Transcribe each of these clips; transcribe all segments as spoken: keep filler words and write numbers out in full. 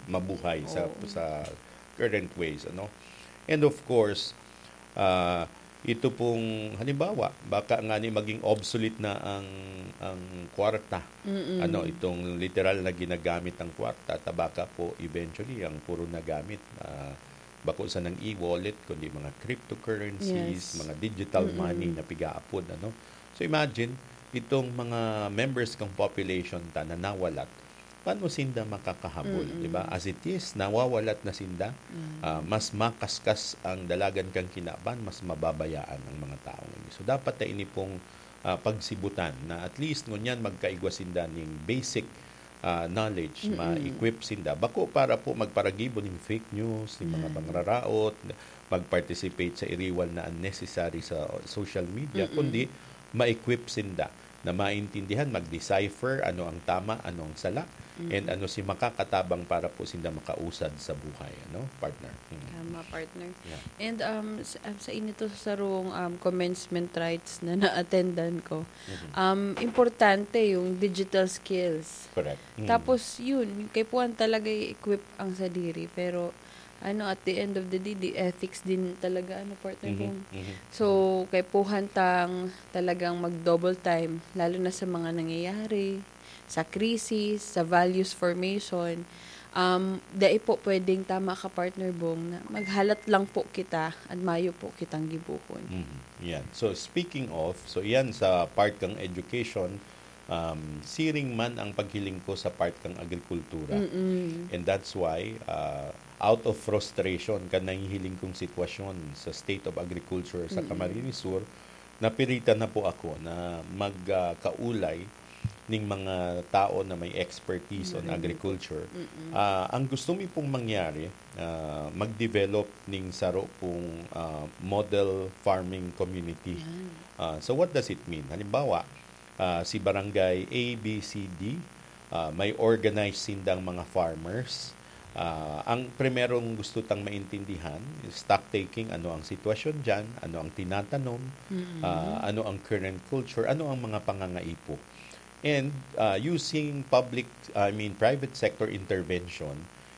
mabuhay sa Oo. sa current ways, ano. And of course, ah, ito pong halimbawa, baka nga ni maging obsolete na ang ang kwarta. Mm. Ano, itong literal na ginagamit ang kwarta, ta baka po eventually ang puro nagamit, ah, bako sanang e-wallet, kundi mga cryptocurrencies, Yes. mga digital Mm-mm. money na pigaapod, ano. So imagine, itong mga members kang population ta na nawalat, paano sinda makakahabol, Mm-mm. di ba? As it is, nawawalat na sinda, Mm. ah, mas makaskas ang dalagan kang kinaban, mas mababayaan ang mga taong ini. So dapat na ini pong, ah, pagsibutan na at least ngunyan magkaigwa sinda ning basic, ah, knowledge, Mm-mm. ma-equip sinda. Bako para po magparagibo ning fake news, ning mga Yan. pangraraot, mag-participate sa iriwal na unnecessary sa social media, Mm-mm. kundi ma-equip sinda na maintindihan, mag-decipher ano ang tama, ano ang sala, and Mm-mm. ano si makakatabang para po sinda makausad sa buhay, ano, partner? Mm. Tama, partner. Yeah. And, um, sa, um, sa inito sa sarong, um, commencement rites na na-attendan ko, Mhm. um, importante yung digital skills. Correct. Mm. Tapos, yun, kaipuhan talaga i-equip ang sadiri, pero, ano, at the end of the day, the ethics din talaga, ano, partner, Mhm, kung mhm. So, kaipuhan tang talagang mag-double time, lalo na sa mga nangyayari, sa krisis, sa values formation. Um, dai po pwedeng, tama ka, partner Bong, na maghalat lang po kita at mayo po kitang gibohon. Mhm, yan. So, speaking of, so yan sa part kang education, um, siring man ang paghiling ko sa part kang agrikultura. Mm-mm. And that's why, ah, out of frustration kan nahihiling kong sitwasyon sa state of agriculture sa Mm-mm. Camarines Sur, napiritan na po ako na mag, ah, kaulay ning mga tao na may expertise on Magaling po. Agriculture. Mm-mm. Ah, ang gusto mi pong mangyari, ah, mag-develop ning saro pong, ah, model farming community. Yan. Ah, so what does it mean? Halimbawa, ah, si barangay A, B, C, D, ah, may organize sindang mga farmers. Ah, ang primerong gusto tang maintindihan, stock taking, ano ang sitwasyon diyan, ano ang tinatanom, Mm. ah, ano ang current culture, ano ang mga pangangaipo. And, ah, using public, I mean, private sector intervention,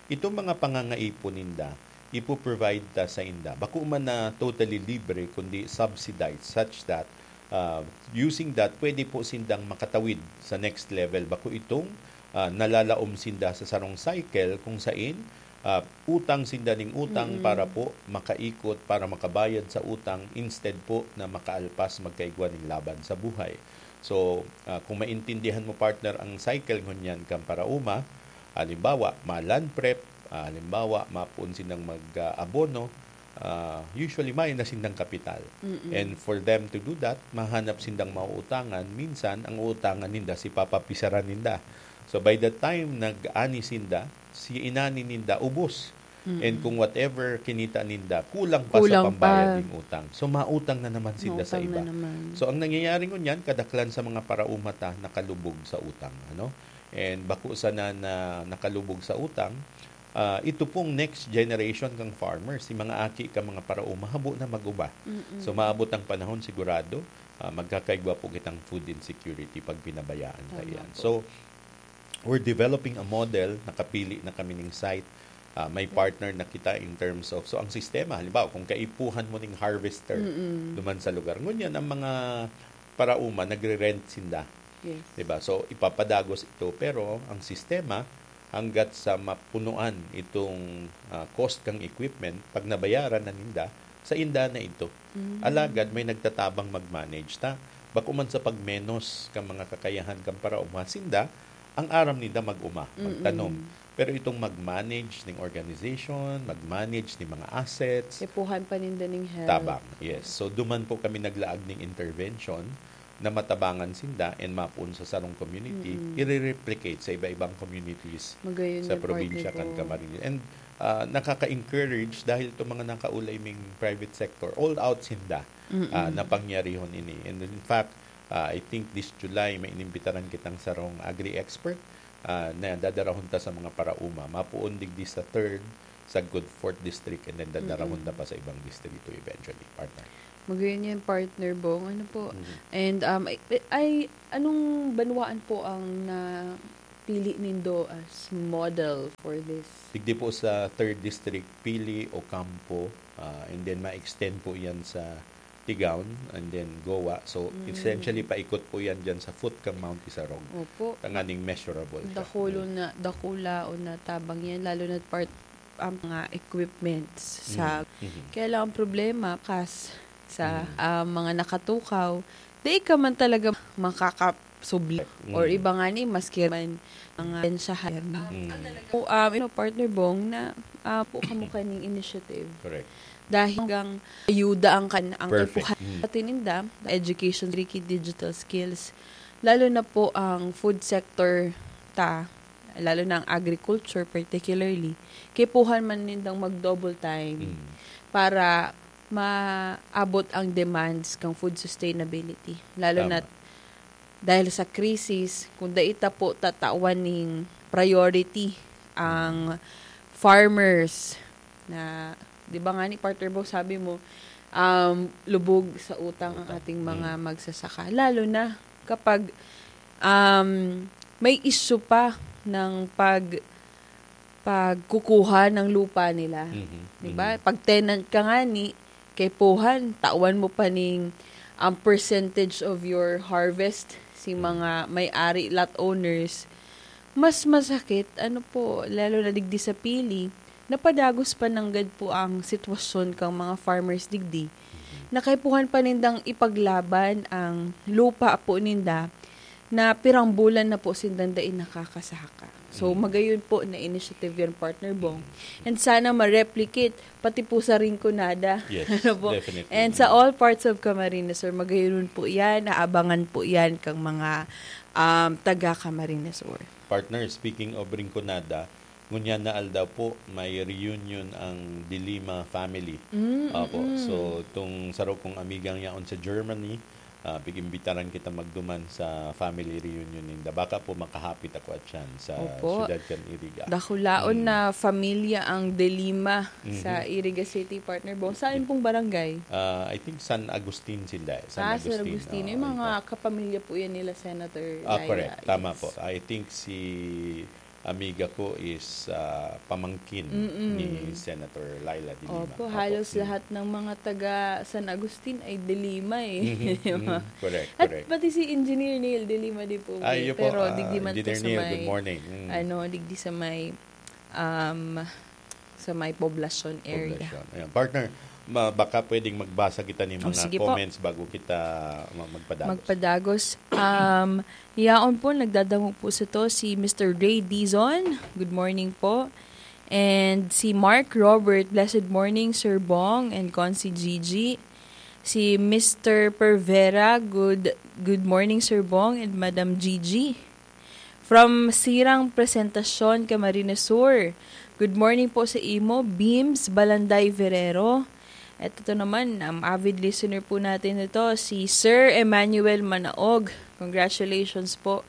itong mga pangangaipo ninda, ipo-provide ta sa inda. Bako man na totally libre, kundi subsidized, such that, ah, using that, pwede po sindang makatawid sa next level. Bako itong, ah, nalalaom sinda sa sarong cycle kung sain, ah, utang sinda ning utang Mm. para po makaikot, para makabayad sa utang, instead po na makaalpas magkaigwa ning laban sa buhay. So, ah, kung maintindihan mo, partner, ang cycle ngunyan kan paraoma, halimbawa, ma-land prep, ah, halimbawa, mapoon sindang mag, ah, abono, ah, usually mayo na sindang kapital. Mm-mm. And for them to do that, mahanap sindang mauutangan. Minsan, ang uutangan ninda, si papapisaran ninda. So, by the time nag-ani sinda, si inani ninda ubos. Mm-mm. And kung whatever kinita ninda, kulang pa sa Kulang pambayad pa. ning utang. So, mautang na naman sinda sa Mautang na iba. naman. So, ang nangyayari ngunyan, kadaklan sa mga paraoma ta nakalubog sa utang, ano? And bako sana na nakalubog sa utang, ah, ito pong next generation kang farmers, si mga aki ka mga paraoma, habo na mag-uba. Mm-mm. So, maabot ang panahon sigurado, ah, magkakaigwa po kitang food insecurity pag pinabayaan ta Tama iyan. po. So, we're developing a model, nakapili na kami ning site, ah, may partner na kita in terms of, so ang sistema, halimbawa, kung kaipuhan mo ning harvester Mm-mm. duman sa lugar, ngunyan ang mga paraoma, nagre-rent sinda. Yes. Diba? So, ipapadagos ito, pero ang sistema, hanggat sa mapunuan itong, ah, cost kang equipment, pag nabayaran na ninda, sa inda na ito. Mm. Alagad may nagtatabang mag-manage ta. Bako man sa pagmenos kan mga kakayahan kan paraoma, sinda, ang aram ninda mag-uma, magtanom. Mm-mm. Pero itong mag-manage ning organization, mag-manage ning mga assets, Kaipuhan pa ninda ning help. tabang. Yes. So, duman po kami naglaag ning intervention na matabangan sinda and mapoon sa sarong community, Mm-mm. i-replicate sa iba-ibang communities Magayon sa yan, probinsya partner kan ko. Camarines. And, ah, nakaka-encourage dahil itong mga nakaulay ming private sector, all out sinda, Mm-mm. ah, na pangyarihon ini. And in fact, ah, I think this July, may inimbitaran kitang sarong agri-expert, ah, na dadarahon ta sa mga paraoma. Mapoon digdi sa third, sa Good Fourth District, and then dadarahon Mm-mm. ta pa sa ibang distrito eventually, partner. Magayon yan, partner Bong. Ano po? Mhm. And, um, ay, ay, anong banwaan po ang na, pili nindo as model for this? Digdi po sa third District, Pili, Ocampo, ah, and then ma-extend po yan sa Tigaon, and then Goa. So, Mm. essentially, paikot po yan dyan sa Footcam Mount Isarog. Opo. Tanganing measurable siya. Dakulo Mm. na, dakula o natabang yan, lalo na part ang mga equipments sa Mm. Mhm. Kaya lang ang problema, kas sa, Mm. ah, mga nakatukaw, di ka man talaga makakasubli. Or Mm. iba nga ni, maski man mga pensyahan. Mm. O, um, you know, Partner Bong, na, ah, po kamo kaning initiative. Correct. Dahil hanggang ayuda ang kan-, ang Perfect. Kaipuhan Mm. sa tininda, education, tricky digital skills, lalo na po ang food sector ta, lalo na ang agriculture particularly, kaipuhan man nindang mag-double time Mm. para maabot ang demands kang food sustainability. Lalo Tama. na dahil sa krisis, kung dai ta po tatawan ning priority ang farmers na, di ba nga ni Partner Bo, sabi mo, um, lubog sa utang ang Utang. ating mga Mm. magsasaka. Lalo na kapag, um, may issue pa ng pag-, pagkukuha ng lupa nila. Mhm, Di ba? mhm. Pag tenant ka nga ni, kaipuhan, tawan mo pa ning ang percentage of your harvest si Mm. mga may-ari, lot owners, mas masakit, ano po, lalo na digdi sa Pili, napadagos pa nanggad po ang sitwasyon kang mga farmers digdi. Mhm. Na kaipuhan pa nindang ipaglaban ang lupa po ninda na pirang bulan na po sindang dai nakakasaka. So, Mm. magayon po na initiative yan, Partner Bong. Mm. And sana ma-replicate, pati po sa Rinconada. Yes, Ano po? definitely. And sa all parts of Camarines Sur, magayon po yan, naabangan po yan kang mga, um, taga Camarines Sur. Partner, speaking of Rinconada, ngunyan na aldaw po, may reunion ang De Lima family. Mm, Opo. mm. So, itong saro kong amigang yaon sa Germany, ah, pag-imbitaran kita magduman sa family reunion ninda. Baka po makahapit ako at yan sa Opo. siyudad kan Iriga. Dakulaon Mm. na familia ang De Lima Mhm. sa Iriga City, Partner Bong. Saan pong barangay? Ah, I think San Agustin sila. San Ah, San Agustin. Agustin. Oo, Yung mga ito. kapamilya po yan nila Senator Ah, Laila. correct. Tama Yes. po. I think si amiga ko is, ah, pamangkin Mm-mm. ni Senator Laila de Lima. Opo, Opo. halos Mm. lahat ng mga taga San Agustin ay De Lima eh. Mhm, Di ba? mhm. Correct, At correct. pati si Engineer Neil De Lima di po Ah, eh. iyo po, Pero ah, digdi man po Engineer sa Neil, may, good morning. Mm. ano, digdi sa may, um, sa may Poblacion area. Poblacion. Ayan. Partner, ma-, baka pwedeng magbasa kita ng Oh, mga sige po. comments bago kita ma-, magpadagos. Magpadagos. Um, yaon po, nagdadangog po sa to si Mister Ray Dizon. Good morning po. And si Mark Robert, "Blessed morning, Sir Bong and Consi Gigi." Si Mister Pervera, "Good, good morning, Sir Bong and Madam Gigi." From Sirang Presentacion, Camarines Sur. Good morning po sa imo, Beams Balanday Ferrero. At ito naman, ang avid listener po natin ito, si Sir Emmanuel Manaog. Congratulations po,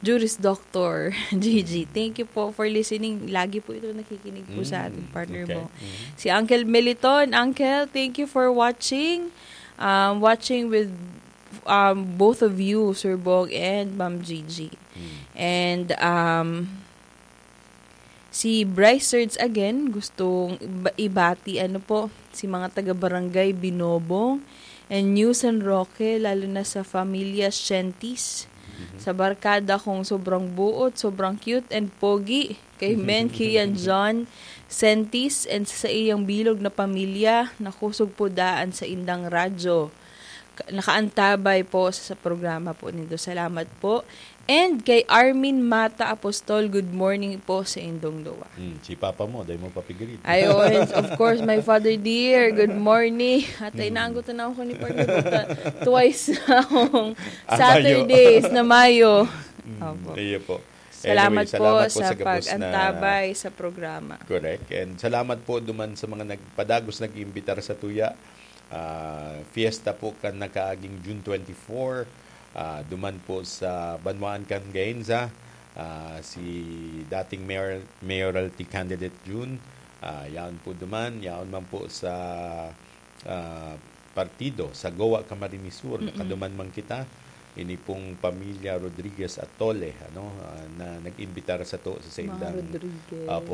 Juris Doctor Gigi. Thank you po for listening. Lagi po ito nakikinig po sa Mm, ating partner okay. mo. Mm. Si Uncle Meliton, Uncle, thank you for watching. Um, watching with um, both of you, Sir Bong and Ma'am Gigi. Mm. And, um, si Bryce Serge again, gustong iba-, ibati, ano po, si mga taga-barangay Binobong and New San Roque, lalo na sa Familia Sientis. Mhm. Sa barkada kong sobrang buot, sobrang cute and pogi, kay Men Kian John Sentis and sa iyang bilog na pamilya, nakusog po daan sa indang radyo. Ka-, nakaantabay po sa, sa programa po nindo. Salamat po. And kay Armin Mata Apostol, good morning po sa indong duwa. Hmm, si Papa mo, dai mo papigirin. Ay, oo, and of course, my father dear, good morning. At ay, Hmm. naanggot na ako ni Partner Buta. Twice na akong Ah, Mayo. Saturdays na Mayo. Hmm, Opo. iyo po. Salamat Anyway, po salamat po sa sa gabos na pag-antabay sa programa. Correct. And salamat po duman sa mga nagpadagos, nag-iimbitar sa tuya. Ah, fiesta po kan nakaaging June twenty-four. Ah, duman po sa Banwaan kan Gainza, ah, si dating mayor, mayoralty candidate Jun. Ah, yaon po duman, yaon man po sa, ah, partido sa Goa, Camarines Sur. Mm-mm. Nakaduman man kita. ini pong pamilya Rodriguez Atole, ano, ah, na nag-imbitar sato sa Mga saindang, Rodriguez. Apo,